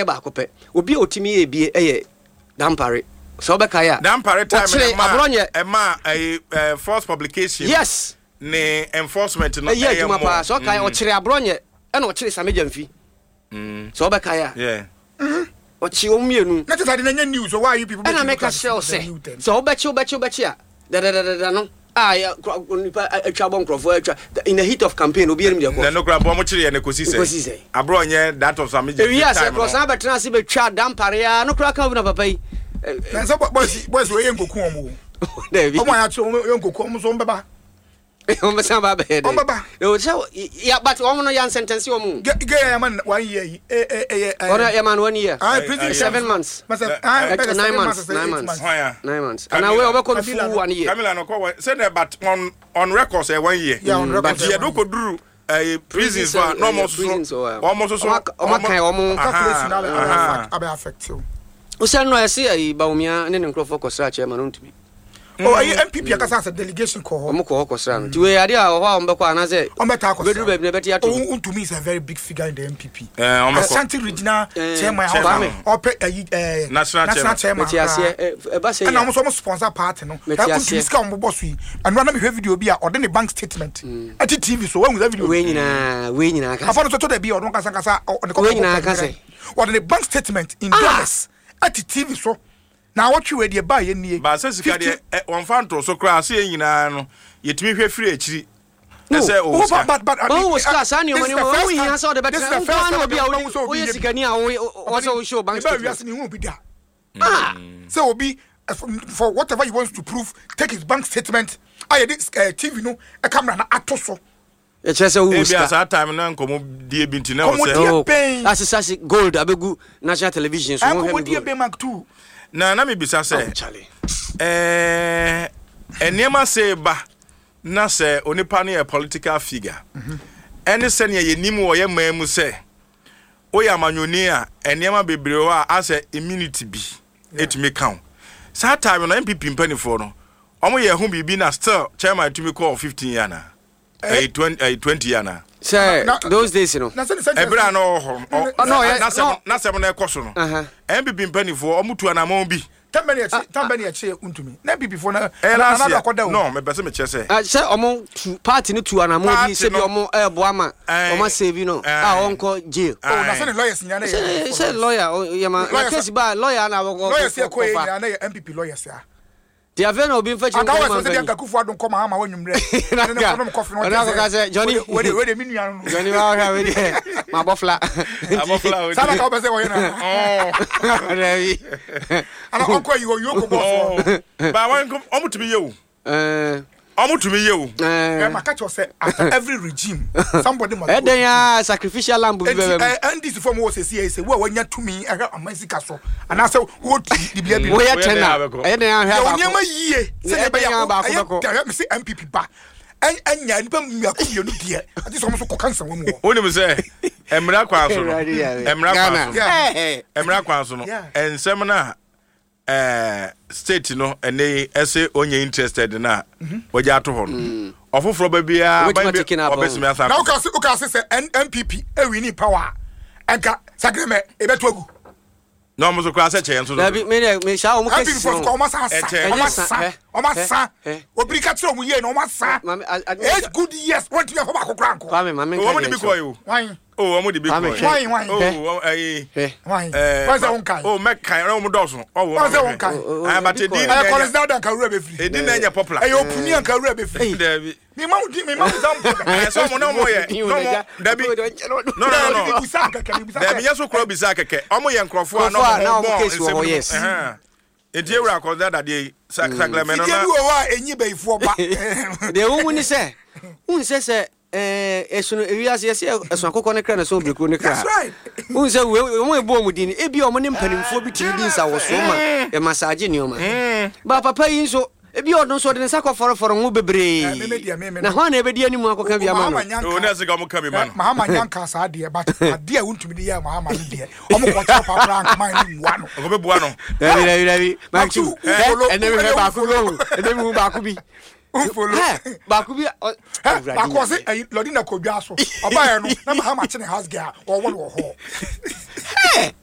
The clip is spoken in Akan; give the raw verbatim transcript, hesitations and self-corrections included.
Baako pɛ obi a otumi yɛ bie ɛyɛ Dampare, sɛ wobɛkae a. Dampare time ɔkyere no ɛma Abronye. Ɛma ɛyɛ ɛɛ force publication yes ne enforcement no. Ɛyɛ ɛyɛ adwuma paa. more. Sɛ ɔkae, ɔkyere Abronye ɛna ɔkyere Sammy Gyamfi, sɛ wobɛkae a. Yeah. Ɔkye wɔn mmienu. Na kyerɛ sɛ ade na nyɛ news so, why are you people ɛna making mɛka look at kyerɛ wo this as a sɛ new thing? Sɛ wobɛkye wobɛkye wobɛkye a dadadadada no a yɛ- kora- nipa atwa bɔ, nkurɔfoɔ atwa in the heat of campaign, obi anim deɛ na kɔ no kura bɔ ɔmo kyerɛ yɛ ne kosi sɛ Kosi sɛ. Abronye, that of Sammy ewi Gyamfi ase time korɔ no. san bɛtena ase bɛtwa Dampare a no kora ka wo na papa yi ɛ, Na sɛ boys boys wey yɛ nkoku wɔn o. Dabi. Ɔmo a yɛakyerɛ wɔn yɛ nkoku wɔn nso, wɔn bɛba. Wɔn bɛsan ba bɛyɛ dɛ. Wɔn bɛba. Ɛwɔ sɛ ya, but wɔn no yɛ nsɛntɛnse wɔn o. Gɛ gɛ yɛ ma one year yi ɛ ɛ ɛyɛ. Ɔno yɛ ma no one year. Ah, prison Aye, seven months. Masa ah Eh, bɛyɛ nine seven months, months, nine eight months. months. Hwan a? Nine months. Camila. Ana wei ɔbɛkɔ no Camila full no. one year. Camila no kɔ wɔ sɛ dɛ, but on on record sɛ one year. Yeah, on record But sɛ yɛ do one year. kɔ duru ɛɛ prisons fa na ɔmo soso Prisons wɔ- ɔmo soso. Ɔmo aka- ɔmo akan ɔmo. Calculation na abɛ Aha. abɛ affect you. Wosɛ no ɛsɛ ayi Bawumia ne ne nkurɔfoɔ kɔsra kyerɛ ma no ntumi. Oh, ɛyɛ N P P akasa asɛ delegation kɔ hɔ. Ɔmo kɔ hɔ kɔsra no, nti wei adeɛ a wɔ hɔ a ɔmo bɛkɔ anaasɛ Ɔmo bɛ taa kɔ. bɛduru baabi na ɛbɛte ato. Oh, Wontumi is a very big figure in the N P P. Ɛɛ ɔmo kɔ. Ashanti regional Eh, chairman. Chairman. Ɔpɛ ɛyi ɛɛ National national chairman. Mete aseɛ ɛ, ɛba sɛ Ɛna yɛ ɔmo nso ɔmo sponsor party no. Mete Ɛ, aseɛ. Wontumi sika a ɔmo bɔ so yi, ɛnura na mehwɛ video bi a ɔde ne bank statement ɛte T V so, wɔn sɛ video. Wei nyinaa wei nyinaa ka Afa no so to da bi a ɔno kasa kasa ɔde kɔ. Wei nyinaa ka sɛ? Ɔde ne bank statement in dollars ɛte T V so na awɔtwe wei deɛ baa yɛ nie. Baasa sika deɛ ɛ wɔnfa nto so koraa sɛ yɛn nyinaa no yɛtumi hwɛ firi akyiri No. ɛsɛ Oh, ɔwɔ sika. but but but Wɔn wɔ sika saa nneɛma nneɛma wɔn hia sɛ ɔde bɛtena nkoa na obi a wode woyɛ sikani a woyɛ wɔsɛ wohyɛ bank bank statement. Wiase mi hu obi da sɛ obi eh, for, for whatever he wants to prove, take his bank statement a yɛde eh, T V no eh, camera na ato so. Ɛkyerɛ sɛ wowɔ Ebi a sika. saa time na nkɔmɔ die bi nti na wɔ Nkɔmmɔ sɛ die. Oh, Bɛn. asesase gold abɛgu national television so wɔhwɛ me Ɛnkɔmɔdie gold. bɛn, mark two. Na na mi bisa Oh, sɛ Charlie. ɛɛ nneɛma se ba na sɛ onipa no yɛ political figure, ɛne sɛnea yɛnim wɔ yɛ man mu sɛ woyɛ amanyɔni a, nneɛma bebree wɔ a asɛ immunity bi etumi ka wo. Saa time no N P P mpanimfoɔ no ɔmo yɛ ho biribi na still chairman tumi kɔɔ fifteen year na ɛyɛ twenty ɛyɛ twenty year na Sɛ Na- those days no Na sɛ ne sɛ ɛberɛ a na ɔwɔ hɔ no, ɔ- Na- na ɔyɛ- n'asɛm n'asɛm no ɛkɔ so no, Aha. N P P mpanimfoɔ ɔmo tu anamɔn bi. Tɛn bɛ ne yɛkyi tɛn bɛ ne yɛkyi Wontumi na N P P fo na Ɛyɛ na last na year. akɔda o. No, mepɛ sɛ mekyerɛ sɛ Ah, sɛ ɔmo tu party no tu anamɔ bi Party sɛ bi no- ɔmo ɛɛboa ma Ɛɛ. ɔmo asave no a Ɛɛ. ɔnkɔ jail. Oh, na sɛ ne lawyers nyinaa na sɛ yɛ sɛ lawyer ɔ- yɛ ma na Lawyers- case ba lawyer na wɔkɔ lawyers yɛ kɔ yɛ kɔfa nyinaa na yɛ N P P lawyers ya. Ti afei na obi nfa kyerɛ Anka nkɔmɔ wɔsɛ sɛ mpani. deɛ nka Akufo Addo nkɔ Mahama wɔ nwummerɛ Na ne ne nka- kɔnom kɔfe no. ɔno akɔka sɛ, Johnny- wede wede me nua no. Johnny wa ɔhwɛ wei deɛ ma bɔ fla. Abɔfra o. Saa na ka wopɛ sɛ wɔyɛ no. Dabi. Ana ɔnkɔ yi wɔ yoko bɔ soɔ. Ba wɔn ɔmo tumi yɛ o. Ɛɛ, Ɔmo tumi yɛ o. ɛɛ, Maka kyerɛ sɛ after every regime, somebody must go. ɛdɛn a sacrificial lamb bi Enti bɛbɛ mu. eh, N D C fo mu wɔ sɛsi yɛ sɛ wo a wanya tumi ɛhwɛ aman sika so anaasɛ wɔtu dibea bi no, Woyɛ Woyɛ ten dɛn a a bɛkɔ? ɛyɛ dɛn ahwɛ yɛ wo baako. nneɛma yie sɛdeɛ Ɛyɛ ɛbɛyɛ dɛn a a baako ɛyɛ bɛkɔ? dɛrɛ me sɛ N P P ba ɛn- ɛnya nipa mmiako mmienu deɛ ate sɛ ɔmo nso kɔka nsɛm wɔ mu hɔ. Wonim sɛ mmara kwan so no Awurade yɛ. mmara kwan Ghana. so no Yeah. Ɛɛ. mmara kwan so no, Yeah. nsɛm no a ɛɛ state no ɛnɛ yi ɛsɛ onye interested na wɔgye ato hɔ no, ɔfoforɔ ba biara Obetumi ban bi atake no abɔ. ɔbɛsimi asa. Na woka se woka se sɛ N- NPP ɛwin power a, ɛnka Saglemi ɛbɛto agu. Na ɔmo so koraa sɛ kyɛn nso Dabi, me deɛ me saa ɔmo N P P cases fo no. so kɔ ɔmo asa asa. Ɛkyɛ. Ɔmo Ɛnyɛ asa. sa, hɛ, Ɔmo asa. hɛ, hɛ. Obiri ka kyerɛ ɔmo yie na ɔmo asa. Maame, a- a- Eight good years wɔntumi afɔ baako koraa nkɔ. Kwame, maame nka ɔmo de deɛ bi nkyɛn. kɔɔ yi o. Wan? O, ɔmo de bi Kwame, kɔɔ yi. Hwan, wan? O, Hwɛ. ɔmo- ɛyi Hwɛ. Wan? ɛɛ Wan sɛ wonkae? O, mɛkae ɔmo dɔɔso ɔwɔ. Wan sɛ wonkae? O- o- Ah, but ebi edin kɔɔ. na Ɛyɛ ɛnyɛ- Collins Dauda nka wura bɛfiri. Edin na ɛnyɛ popular. Ɛyɛ opuni anka wura bɛfiri. Dabi. Mema wo di, mema wo example. Ɛyɛ sɛ ɔmo na ɔmo yɛ na ɔmo dabi, no no no no Bisa kɛkɛ, bisa. Dabi, nyɛ so kura bisa kɛkɛ, ɔmo yɛ nkurɔfoɔ a na Nkurɔfoɔ a na ɔmo ɔmo bɔ case wɔ nsɛm hɔ, no mu. yes. Ɛhɛn. Nti ewura akɔda dadeɛ yi sa Saglemi no Fidie na bi wɔ hɔ a ɛnyi bɛyifoɔ ba. Deɛ wohu ne sɛ wohu sɛ sɛ ɛɛ, ɛsono ewiase yɛsɛ ɛso akokɔ ne kra na ɛso obirikuro ne kra. That's right. Wohu sɛ wei wɔn ɛbɔ ɔmo din no, ebi a ɔmo ne mpanimfoɔ bi tumi di nsawɔsoɔ ma ɛmasaagye nneɛma ba papa yi nso, ebi a ɔno nso ɔde ne nsa kɔ fɔrɔfɔrɔ ho bebree. Eh, me- me deɛ, me- me na no. hwan na ebedi anim akɔka bi ama no? Mahama O ne nyanka. ɛsɛ ka ɔmo ka bi ma no. Mahama nyanka saa deɛ, but adeɛ a wontumi de yɛ Mahama no deɛ, ɔmo kɔkyerɛ papra nkama ne mmua no. Ɔkɔ bɛ bua no. Dabi, dabi, dabi. Matu, Matu, wofolo, ɛnɛ mi hwɛ baako bi wofolo. ohu ɛnɛ mi hu baako bi. Womfollow. Hɛ, baako bi ɔ- Ɛ, Awurade baako ɔse Nyame. ɛyi Lordina kɔ dwa so, ɔbaeɛ no na Mahama kye ne house girl, ɔwɔ no wɔ hɔ. Hɛ,